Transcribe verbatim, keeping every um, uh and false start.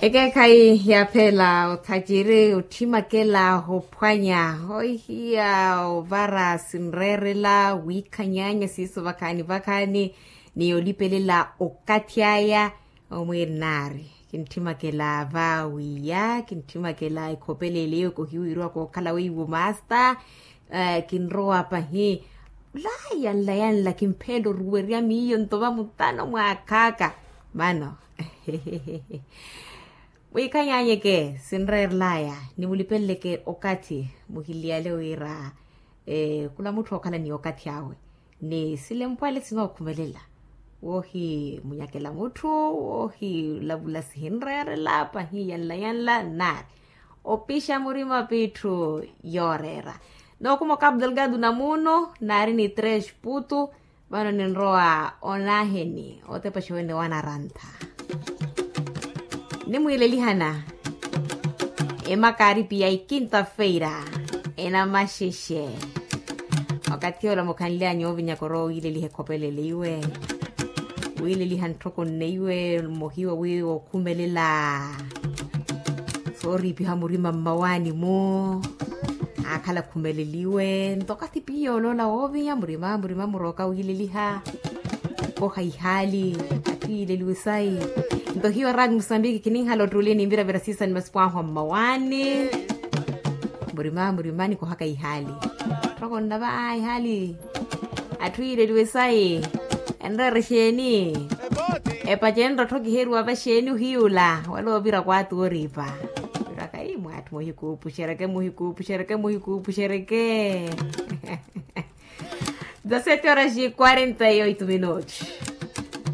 Ekeekhayi yaaphela othaciri otthimakela ophwanya ohiya ovara sinreerela wiikhanyaanya siiso vakhaani vakhaani. Ni olipelela okathi aya omwiirinaari, kintthimakela va wiiya kintthimakela ekhopelele eyo kohiwirwa kookhala weiwo maasta. Kinrowa pahi laya nla ya nla kimpheela oruwerya miyo nto vamutano mwaakhaaka. Mano mwiikhanyaanyeke sinreerelaya ni mulipeleleke okathi muhiliyale wira khula mutthu ookhala ni okathi awe ni silempwale sinookhumelela woohimunyakela mutthu woohilavula sihinreerela pahi yanla yanla nnaari opixa murima pitthu yooreera. Nookuma okapu delgado namuno naari ni tres putu. Vano ninrowa onaheni otepa xewene wanarantha nimwiilelihana emakaaripi ya ikinta feira enamaxexe. Okathi ola mukhanly'anyu ovinyaka orowa owiileliha ekhopelele iwe wiileliha ntthoko nne iwe mohiwa wi wookhumelela sooriipiha murima mmawaani-mu aakhala akhumeleliwe nto okathi piya oloola woovinya murima murima murooka wiileliha koha ihaali atthu yiileliwe sayi. Nto hiyo raati musambiki kininhala ottuli ninviravira siisa ni masipo ahu a mmawaani murima murima nikohaka ihaali. Tthoko nnava ihaali atthu yiileliwe sayi enreera exeeni? Epacenro tthokiheriwa vaxeeni ohiyula wala ovira kwaati wooriipa. Viraka ii mwaatthu muhikuupuxereke muhikuupuxereke muhikuupuxereke. Dezasete horas e quarenta e oito minutos.